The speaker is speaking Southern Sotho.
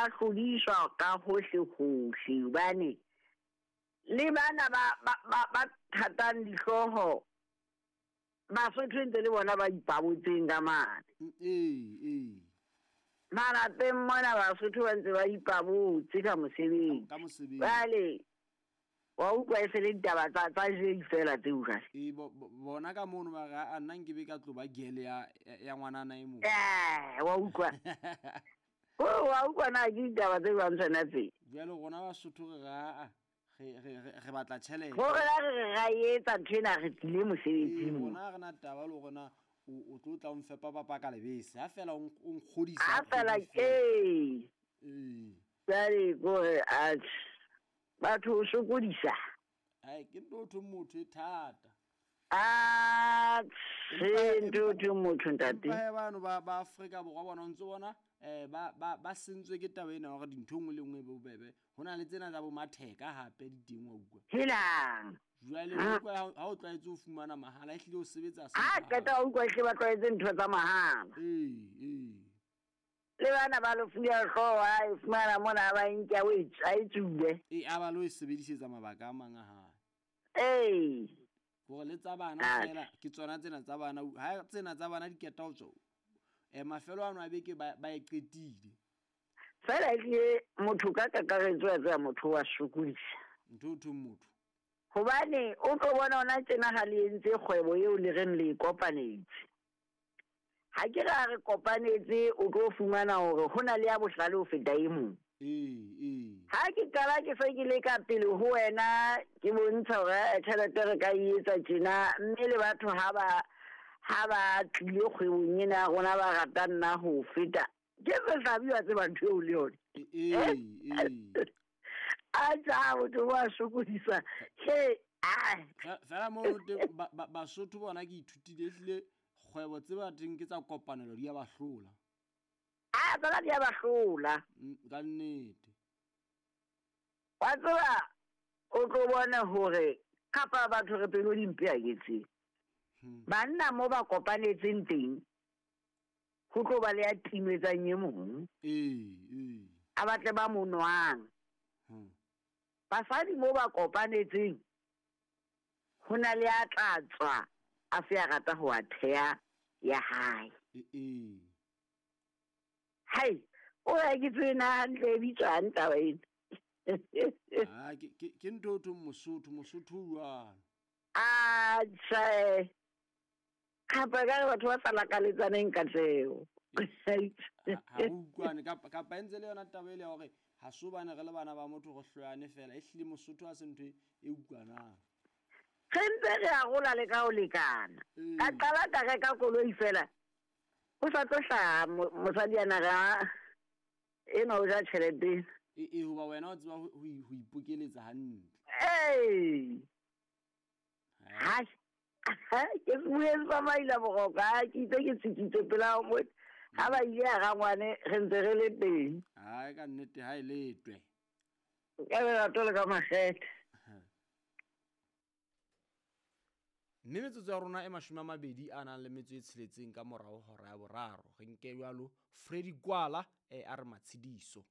ba hlodiswa ka hohle hohle hobane le bana ba ba ba, ba thatang dihlooho Basotho e ntse le bona ba ipabotseng ka mane. Ee, ee. Malapeng mona Basotho ba ntse ba ipabotse ka mosebetsi. Ka mosebetsi. Jwale wa utlwa e se le ditaba tsa tsa jei fela tseo jwale. Ee, bona ka mono ba re a nna nkebe ka tlo ba gele ya ya ngwanana e mong. Eh, wa utlwa. O wa utlwa na ke ditaba tse jwang tsona tse. Jwale rona Basotho re re aa re re re re batla tjhelete. Gore la re re ra e etsa ntho ena re tlile Ee, mosebetsing. rona ha re na taba le hore na o o tlo tla o nfepa papa ka lebese. Ha fela o o nkgodisa. Ha fela ee. Ee. Jwale kore atjhe batho o sokodisa. Ai ke ntho thwe motho e thata. Atjhe ntho thwe motho ntate. Empa he bano ba ba Afrika Borwa bona o ntso bona eh ba ba ba sentswe ke taba ena hore dintho nngwe le nngwe e bobebe. Ho na le tsena tsa bo matheka hape di teng wa utlwa. Helang. Jwale o utlwa ha o tlwaetse ho fumana mahala ehlile o sebetsa se. Ha qeta o utlwa ehlile ba tlwaetse ntho tsa mahala. Ee, ee. Le bana ba lo fuya hlooho a e fumana mona a ba nke a o e a e tsube. Ee, a ba lo e sebedisetsa mabaka a mang a hae. Ee. Hore le tsa bana fela ke tsona tsena tsa bana ha tsena tsa bana di keta ho tswa. Eh mafelo ano a beke ba ba e qetile. Fela ehlile motho ka kakaretso wa tseba motho wa sokodisa. Ntho o thweng motho. Hobane o tlo bona ona tjena ha le entse kgwebo eo le reng le e kopanetse. Ha ke re ha re kopanetse o tlo fumana hore ho na le ya bohlale ho feta e mong. Ee, ee. Ha ke qala ke se ke le ka pele ho wena ke bontsha hore eh, tjhelete re ka e etsa tjena mme le batho ha ba ha ba tlile kgwebong ena ya rona ba rata nna ho feta ke sehlabi wa tseba ntho eo le yone. Ee, ee. A tja motho wa sokodisa. He, ai. Fela mo teng Basotho bona ke ithutile ehlile kgwebo tse ba teng ke tsa kopanelo di a ba hlola. A tsona di a ba hlola. Ka nnete. Wa tseba o tlo bona hore kapa batho re pelo di mpe a ke tsebe. Banna mo ba kopanetseng teng ho tlo ba le ya timetsang e mong. Ee, ee. A batle ba mo nwang. Basadi mo ba kopanetseng ho na le ya tla tswa a se a rata ho a theha ya hae. Ee. Hai, o ya ke tsebe na hantle e bitswang taba ena. Ah, ke ke ke ntho thong Mosotho, Mosotho o jwalo. Ah, tjhe. Kapa ka re batho ba sa lakaletsaneng katleho. Ha re utlwane kapa kapa e ntse le yona taba ele ya hore ha se hobane re le bana ba motho re hloyane fela ehlile Mosotho ha se ntho e utlwanang. Re ntse re arola le ka ho lekana. Ka qala ka reka koloi fela. Ho sa tlo hlaha mosadi ana re a enwa o ja tjhelete. Ee, ee, hoba wena o tseba ho ipokeletsa hantle. Ee. Hai. Ke bueng sa maila boroko ha ke itse ke tsikitse pela mo ha ba ile ya rangwane re ntse re le teng. Hai ka nnete ha e letwe. Ka lerato le ka makgethe. Mme metsotso ya rona e 20 a nang le metso e tsheletseng ka morao hora ya boraro. Re nke jwalo Freddy Kwala a re matshediso.